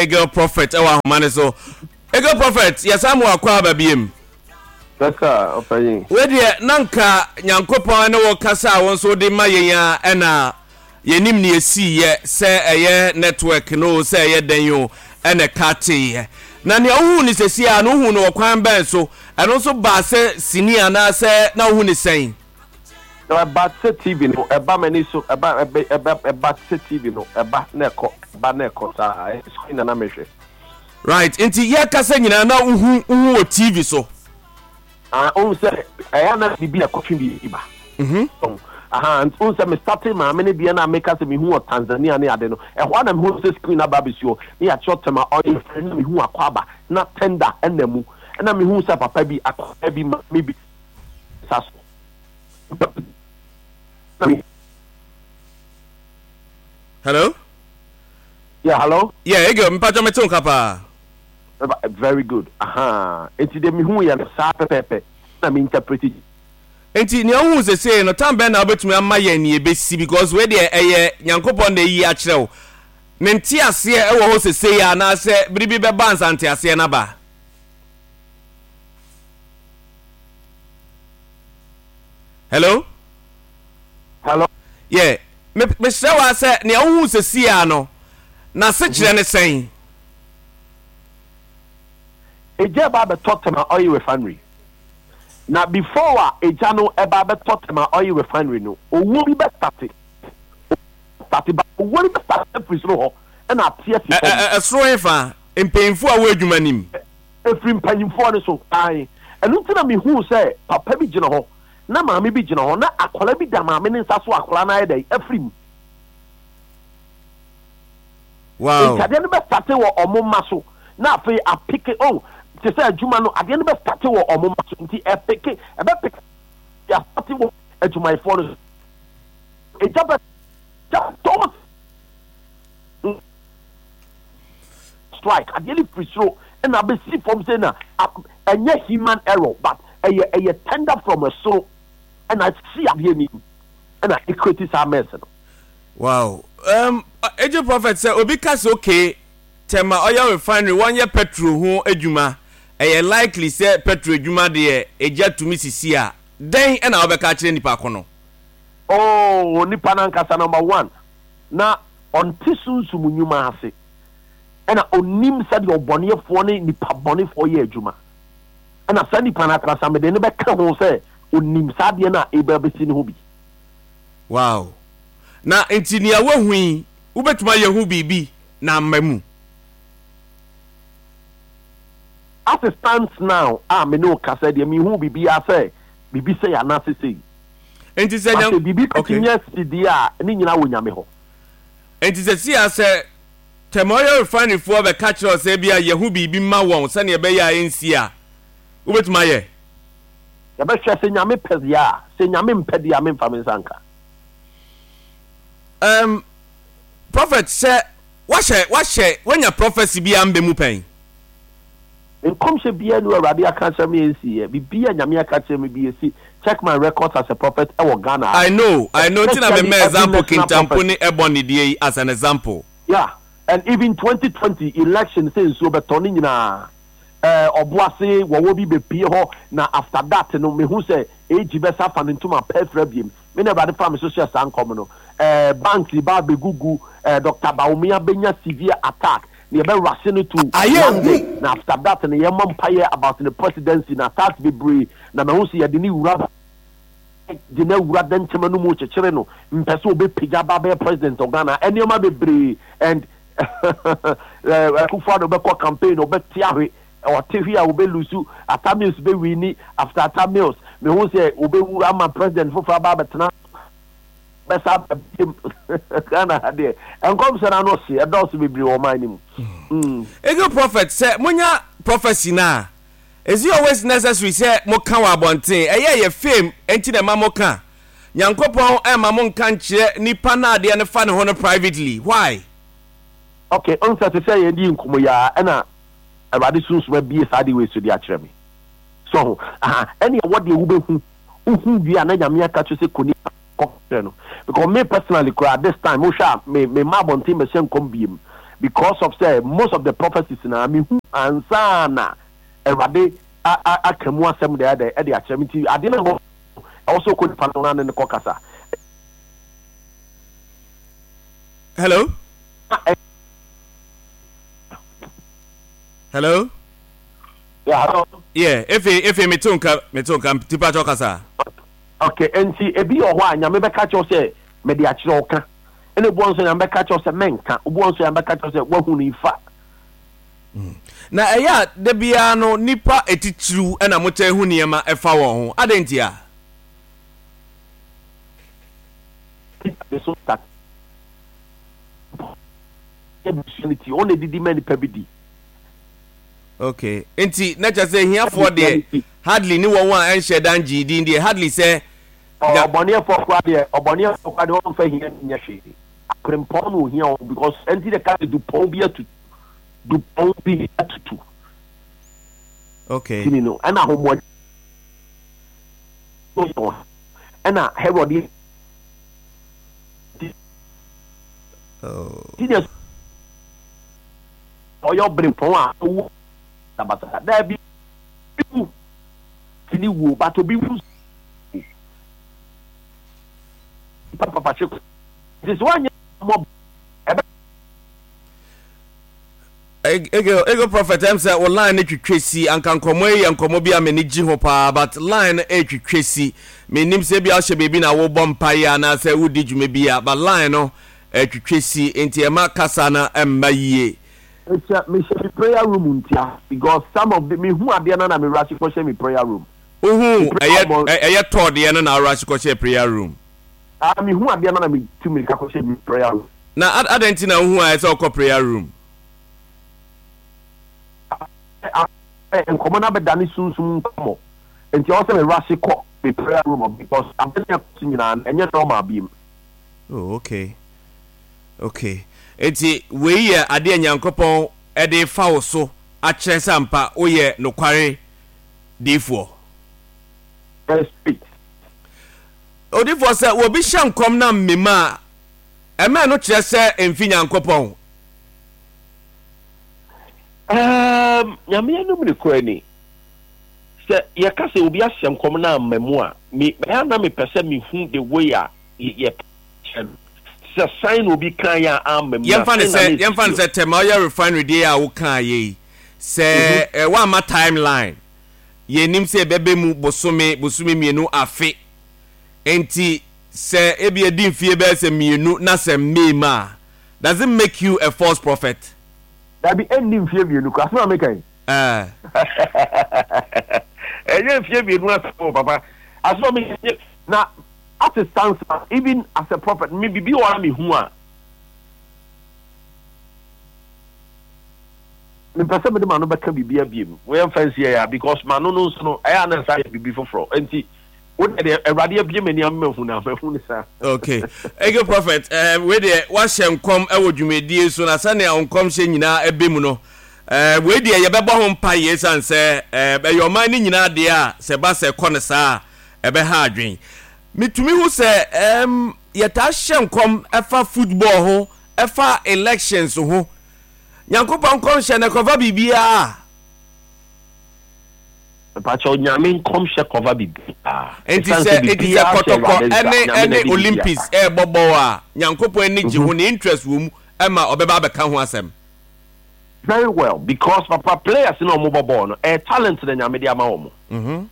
Eagle Prophet ɛwɔ ahoma no so. Eagle Prophet, yɛsan mu akɔ aba biem. Kasa, ɔpanyin. Wei deɛ na nka Nyankopɔn ne wo kasa a wo nso wode ma yɛn a ɛna yɛnim ne ɛsiiɛ sɛ ɛyɛ network no o sɛ ɛyɛ dɛn o ɛna ɛka teeɛ. Na nea wohuu no sɛsi a no wohuu no wɔ kwan bɛn so? Ɛno nso baa sɛ sini anaasɛ na wohu ne sɛn? Na ɛba te sɛ TV no, ɛba m'ani so, ɛba, ɛbɛ, ɛba, ɛba te sɛ TV no, ɛba na ɛkɔ, ɛba na ɛkɔ saa, ɛyɛ screen na na mehwɛ. Right, nti yɛkasa nyinaa na wohu, wohu wɔ TV so? Ah, wohu sɛ ɛyɛ na biribi a ɛkɔtwe biribi ba. Mhm. So, aha, nti wohu sɛ me starte maame no deɛ na meka sɛ mehu wɔ Tanzania ne ade no, ɛhɔ a na mehu sɛ screen aba abɛsi hɔ, ne yɛakyerɛ Tema oil frɛ na mehu Akwaaba, na tender ɛna mu, ɛna mehu sɛ papa bi, akwadaa bi, maame bi, sa so. Hello? Yeah, hello? Yeah, Eagle, mpacho mete wo nka paa. Very good. Aha. Enti de mehu yɛ no saa pɛpɛɛpɛ na me interpret. Enti nea wohu sesei no, tam bɛn na wobɛtumi ama yɛn nea ɛbɛsi because wei deɛ ɛyɛ Nyankopɔn na ayi akyerɛ wo. Ne nteaseɛ ɛwɔ hɔ sesei anaasɛ bere bi bɛba ansa nteaseɛ no aba? Hello? Hello? Yeah. Me mesrɛ wa sɛ nea wohu sɛsi a no n'asekyerɛ ne sɛn? Egya ba abɛtɔ Tema Oil Refinery. Na before a egya no ɛba abɛtɔ Tema Oil Refinery no, owuo bi bɛstate. State ba owuo no bɛstate afiri soro hɔ ɛna ate asi fam. Ɛsoro hefa? Mpanyinfoɔ a wɔ adwuma nim. Ɛfiri mpanyimfoɔ no so. Aane. Ɛno nti na mehuu sɛ papa bi gyina hɔ, na maame bi gyina hɔ, na akwadaa bi da maame no nsa so a akwadaa no ayɛ dɛn? Afiri mu. Wow. Nti adeɛ no bɛstate wɔ ɔmo mma so, na afei apeke, oh, te sɛ adwuma no, adeɛ no bɛstate wɔ ɔmo mma so, nti ɛpeke, ɛbɛpeke, astate wɔ adwumayɛfoɔ no so. Egya bɛ, gya tɔ Strike adeɛ no firi soro na abɛsi fam sei na ɛnyɛ human error but ɛyɛ ɛyɛ tender from ɛsoro ɛna asi adeɛ no mu ɛna ɛcreate saa mess no. Wow um, Angel Prophet sɛ obi ka sɛ okay Tema oil refinery wɔnyɛ petrol ho adwuma ɛyɛ likely sɛ petrol adwuma deɛ egya tumi sisi a dɛn ɛna wobɛka akyerɛ nipa ko no? Oh nipa no ankasa number one na ɔnte sunsum nnwuma ase, ɛna ɔnnim sɛdeɛ ɔbɔneɛfoɔ ne nipa bɔnefoɔ yɛ adwuma. Ɛna saa nipa no ankasa mede no bɛka ho sɛ ɔnim saa adeɛ no a ɛreba abɛsi no ho bi. Wow. Na nti nea woahu yi, wobɛtumi ayɛ ho biribi na amma mu? As it stands now a me ne wo kasa deɛ, menhuu biribiara sɛ biribi sei anaasɛ sei. Enti sɛ But Nyan sɛ biribi okay. bɛtumi asi deɛ a, ne nyinaa wɔ Nyame hɔ. Enti seesei a sɛ Tema Oil Refinery foɔ bɛka kyerɛ wo sɛ ebia yɛ ho biribi ma wɔn sɛnea ɛbɛyɛ a ɛnsi a, wobɛtumi ayɛ? Yɛbɛhwɛ, sɛ Nyame pɛ deɛ a, sɛ Nyame mpɛ deɛ a, memfa me nsa nka. Um, Prophet, sɛ wahyɛ, wahyɛ, wanya prophecy bi a mbɛ mu pɛn? Nkɔmhyɛ biara nni hɔ a Awurade aka akyerɛ me a ɛnsiiɛ. Biribiara a Nyame aka akyerɛ me biara ɛsi. Check my records as a prophet ɛwɔ Ghana ha. I know, I know, nti na me Especially ma every example national Kintampo prophet. ne Ebony deɛ yi as an example. Yeah, and even 2020 election sɛ nsuo bɛtɔ ne nyinaa eh, Ɔboase wɔwɔ bi bɛpue hɔ na after that no mehu sɛ AG bɛsa afa ne ntoma pa afira biem. Me na Awurade faa me so hyɛɛ saa nkɔm no. Eh, banks ba abɛgugu, eh, Doctor Bawumia bɛnya severe attack na yɛbɛ rush no to Ayɛ London hu. na after that no yɛmmɔ mpaeɛ about ne presidency na attacks bebree na mahu sɛ yɛde no wura de no awura dɛnkyɛm no mu kyekyere no mpɛ sɛ ɔbɛpagya aba abɛyɛ president of Ghana nneɛma bebree and Akufo-Addo bɛkɔ campaign ɔbɛte ahwe ɔte hwe a ɔbɛlusu Atta Mills bɛwini after Atta Mills mehu sɛ ɔbɛwu ama president foforɔ aba abɛtena bɛsa aba biom Ghana ha deɛ nkɔmhyɛ no ano hye ɛdɔɔso bebree wɔ ɔman no mu. Mm. Eagle prophet sɛ monya prophecy no a is it always necessary sɛ moka wɔ abɔnten? Ɛyɛ ɛyɛ fame nti na ɛma moka? Nyankopɔn ɛmma mo nka nkyerɛ nipa no adeɛ no fa ne ho no privately why? Ok, wohu sɛ te sɛ yɛn di nkɔmmɔ yi ara ɛna Awurade Sunsum abue saa adeɛ wei so de akyerɛ me. So ho? Aha, ɛne ɛwɔ deɛ wobɛhu Wohu wie a na Nyame aka kyerɛ sɛ kɔ nipa kɔ kyerɛ no because me personally koraa this time wohwɛ a me me mma abɔnten bɛhyɛ nkɔm biem. Because of sɛ most of the prophecies na mehu ansa na Awurade aka mu asɛm de ayɛ dɛn de akyerɛ me. Nti adeɛ no a ɛwɔ sɛ ɔkɔ nipa no na ne no kɔ kasa. Hello? Hello? Yeah, hello. Yeah, efe efe me to nka me to nka tipa kyɛw kasa. Okay, nti ebi wɔ hɔ a Nyame bɛka kyerɛ wo sɛ mede akyerɛ wo ka. Ɛna ebi wɔ nso Nyame bɛka kyerɛ wo sɛ mɛnka. Obi wɔ nso Nyame bɛka kyerɛ wo sɛ wahu no ifa. Na ɛyɛ a da biara no nnipa atitiriw na motaa hu nneɛma ɛfa wɔn ho. Adɛn ntia? Ɔna edidi ma nipa bi di. Okay. Nti na kyerɛ sɛ ahiafoɔ deɛ hardly ne wɔn a ɛnhyɛ da ngyee din deɛ hardly sɛ. Ɔbɔneɛfoɔ koraa deɛ ɔbɔneɛfoɔ koraa deɛ ɔmfa hia nyɛ hwee. Aberempɔn na ohia wɔn because ɛnti na ɛka sɛ dupɔn bi atutu dupɔn bi atutu. Okay. Tini no ɛna ahomoa ɛna Herod yɛ. Oh. Ti deɛ ɔyɛ ɔberempɔn a owu basabasa daabi wu tini wuo but obi wu papa hwe nti sɛ woanyɛ mmɔ ɛbɛ. Ego ego prophet ɛm sɛ wo line no twitwa si anka nkɔmmɔ yi yɛ nkɔmmɔ bi a m'ani gye ho paa but line no ɛretwitwa si mennim sɛ ebia wohyɛ baabi na wobɔ mpaeɛ anaasɛ wodi dwuma bi a but line no ɛretwitwa si nti ɛma kasa no ɛmma yie. Mehyɛ mehyɛ me prayer room ntia because some of the mehu adeɛ no na me rush kɔhyɛ me prayer room. Wohu ɛyɛ ɛyɛ tɔɔ deɛ no na wo rush kɔhyɛ prayer room. Ah mehu adeɛ no na me tu mirika kɔhyɛ me prayer room. Na adɛn nti na wohu a ɛsɛ wokɔ prayer room? Nkɔmmɔ no abɛdane sunsum nkɔmmɔ nti ɛwɔ sɛ me rush kɔ me prayer room because ade no ɛkɔ so nyinaa no ɛnyɛ normal biem. Oh okay okay nti wei yɛ adeɛ a Nyankopɔn de fa wo so akyerɛ sɛ ampa woyɛ nokware diifoɔ. Very straight. Odiyifoɔ, sɛ obi hyɛ nkɔm na mmem a, ɛma ɛno kyerɛ sɛ ɛmfi Nyankopɔn? Erm, Nyame anom nokorɛ ni, sɛ yɛka sɛ obi ahyɛ nkɔm na amma mu a, me, ɛyɛ a na mepɛ sɛ mehu the way a yɛ kyerɛ no. Sɛ sɛn na obi kaeɛ a amma mu na Yɛmfa no sɛn na sɛ, na yɛmfa no ɛsisi o. sɛ Tema ɔyɛ refinery deɛ a wokaeɛ yi, sɛ eh, woamma timeline, Yɛnnim sɛ ɛbɛba mu bosome, bosome mmienu, afe. Enti sɛ ebia adi mfie bɛyɛ sɛ mmienu na sɛ mmee mu a, does it make you a false prophet? Dabi, ɛnni mfie mmienu koraa. Asɛm a meka yi. Ɛɛ. Ɛnyɛ mfie mmienu asɛm o, papa. Asɛm a meka yi, na as it stands now, even as a prophet, me biribi wɔ hɔ a mehu a, Mempɛ sɛ mede m'ano bɛka biribiara biom. Yɛmfa nsi ɛyɛ a because m'ano no nso no ɛyɛ a na ɛsan yɛ biribi foforɔ. Enti wo deɛ deɛ Awurade abue m'ani ama mahu no a mahu no saa. Okay. Eke Prophet, eh, wei deɛ wahyɛ nkɔm wɔ dwumadie so na sɛnea wo nkɔmhyɛ nyinaa ɛbɛ mu no, eh, wei deɛ yɛbɛbɔ ho mpaeɛ ɛsiane sɛ eh, ɛyɛ ɔman no nyinaa deɛ a sɛ ɛba sɛ ɛkɔ no saa a ɛbɛha adwen. Metumi hu sɛ eh, yɛtaa hyɛ nkɔm ɛfa football ho, ɛfa elections ho. Nyankopɔn nkɔmhyɛ no ɛkɔva biribiara. Mpakyɛw Nyame nkɔmhyɛ kɔva biribiara. Enti Ɛsiane sɛ sɛ enti sɛ biribiara hyɛ kɔtɔkɔ Awurade nsa, ɛne Nyame na ɛne ɛde biribiara Olympics ba. ɛɛbɔ bɔɔl a, Nyankopɔn ani gye ho, ne interest wɔ mu ɛma ɔbɛba abɛka ho asɛm. Very well because papa players no a wɔbɔ bɔɔl no ɛyɛ talent na Nyame de ama wɔn.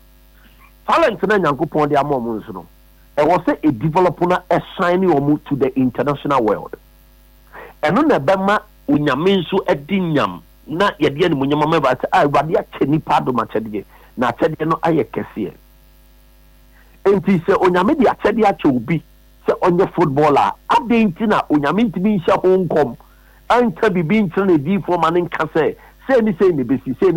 Talent no a Nyankopɔn de ama wɔn nso no ɛwɔ sɛ ɛdevelop na ɛshine wɔn to the international world. Ɛno na ɛbɛma Onyame nso adi nyam na yɛde animuonyam ama Awurade sɛ, Ah, Awurade akyɛ nnipa adom akyɛdeɛ, na akyɛdeɛ no ayɛ kɛseɛ. Enti sɛ Onyame de akyɛdeɛ akyɛ obi sɛ ɔnyɛ footballer a, adɛn nti na Onyame ntumi nhyɛ ho nkɔm nka biribi nkyerɛ n'adiyifoɔ ma no nka sɛ, sei ne sei na ɛbɛsi, sei ne.